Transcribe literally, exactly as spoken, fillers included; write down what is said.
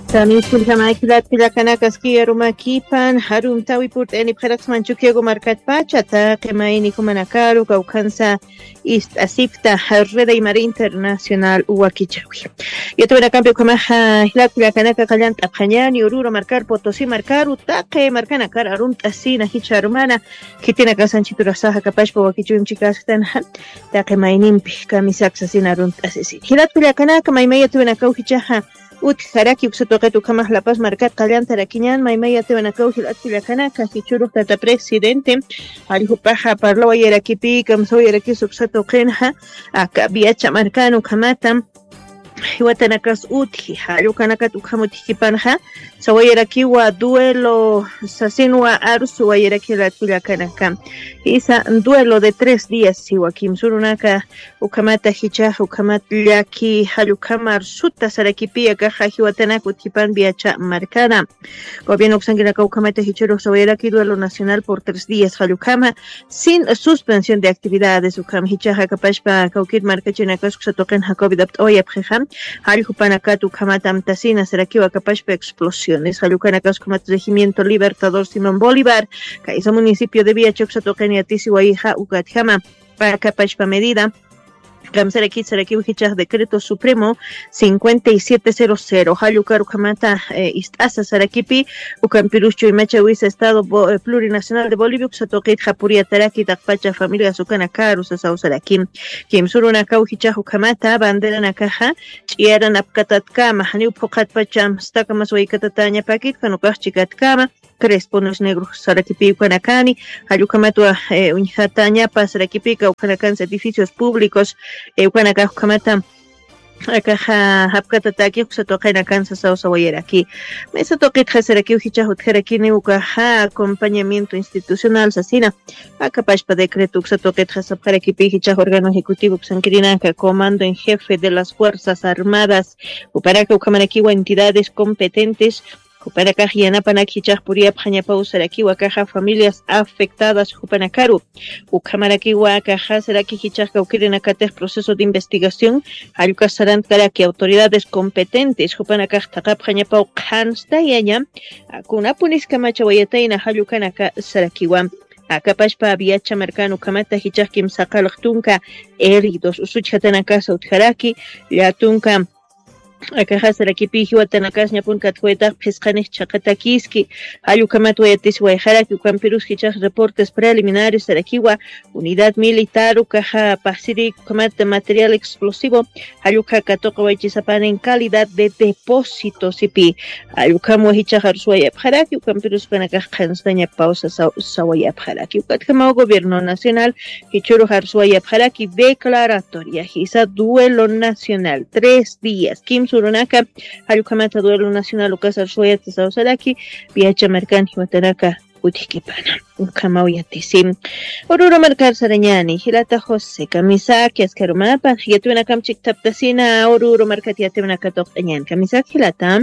Tamiskillkama jilat kullakanakas kiyarumakipan, jarumtawi purt'anipxaraksman Chukiyagu markatpacha taqi mayni jumanakaru kawkhansa ist'asipta Red Aymara Internacional wakichawi. Yatawinakampi ukhamaxa jilat kullakanaka qallant'apxañani Oruro markar, Potosí markaru, taqi markanakar arumt'asina jichha arumana, khitinakasanchiturasaxa kapashpa wakichunchikasktanxa taqi maynimpi kamisaksa sina arumt'asisini. Jilat kullakanaka maymaya yatawinakaw jichhaxa utjaraki uksa tuqit ukhamax La Paz markat qallantarakiñan, maymaya yatawinakaw jilat kullakanaka jichhürux tata presidente jalljupaxa parlawayarakipï kamsawayarakis uksa tuqinxa aka Viacha markan ukhamata jiwatanakas utji, jallukanakat ukham utjkipanxa sawayarakiwa duelo sasinwa arsuwayaraki jilat kullakanaka. Jisa duelo de tres días siwa, kimsürunaka ukhamata jichhax ukhamat llaki jallukhamar suta sarakipï akaxa jiwatanak utjkipan Viacha markana. Gobierno uksankinaka ukhamata jichhürux sawayaraki duelo nacional por tres días jallukhama sin suspensión de actividades. Ukham jichhaxa kapashpa kawkir markachinakas uksa tuqinxa covid apt'awayapxixa, jallju panakat ukhamat amtasina sarakiwa kapashpa explosiones. Jallukanakas ukhamat regimiento Libertador Simón Bolívar, kaysa municipio de Viacha uksa tuqin yatisiwayixa ukatjama. Pä kapashpa medida kamsarakit sarakiw jichhax decreto supremo cincuenta y siete cero cero jallukar ukhamata ist'asa sarakipï. Ukampirus chuymachawisa estado plurinacional de Bolivia uksa tuqitxa puriyataraki taqpacha familias ukanakaru sasaw saraki. Kimsürunakaw jichhax ukhamata banderanakaxa ch'iyaran apkatatkama janiw phuqhatpacham stakamas waykatatañapakit kanukax chikatkama, crespones negros sarakipï ukanakani. Jallukhamatwa uñjatañapa sarakipï kawkhanakansa edificios públicos ukanakax ukhamata akaxa japkatataki uksa tuqinakansa sawsawayaraki. Mesa tuqitxa sarakiw jichhax utjarakini ukaxa acompañamiento institucional sasina. Akapashpa decreto uksa tuqitxa sapxarakipï jichhax órgano ejecutivo uksankirinaka comando en jefe de las fuerzas armadas, jupanaka ukhamarakiwa entidades competentes jupanakax yanapanak jichhax puriyapxañapaw sarakiwa akaxa familias afectadas jupanakaru. Ukhamarakiwa akaxa saraki jichhax kawkirinakatix proceso de investigación jallukar sarantkaraki autoridades competentes jupanakax thaqapxañapaw qhanstayaña. Kunapunis kamachawayatayna jallukanaka sarakiwa. Akapashpa Viacha markan ukhamata jichhax kimsa qallq tunka heridos usuchjatanakas utjaraki, llätunka akaxasarakipï jiwatanakas ñapun katjwaytax phisqanix chhaqatakiski. Jallukhamat wayatisiwayxaraki ukampirus jichhax reportes preliminares sarakiwa unidad militar ukaxa pasirïk ukhamat material explosivo jallukha katuqawaychisapan en calidad de depósito sipï. Jallukhamwa jichhax arsuwayapxaraki ukampirus ukanakax qhanstañapaw sawayapxaraki ukatjamaw gobierno nacional jichhürux arsuwayapxaraki declaratoria jisa duelo nacional tres días kimsürunaka jallukhamata duelo nacional ukas arsuwayata sawsaraki. Viacha markan jiwatanaka utjkipana ukhamaw yatisi. Oruro markar sarañani jilata José kamisaki askharumapan yatiwinakam chikthaptasina Oruro markat yatiwinaka tuqt'añan kamisaki jilata.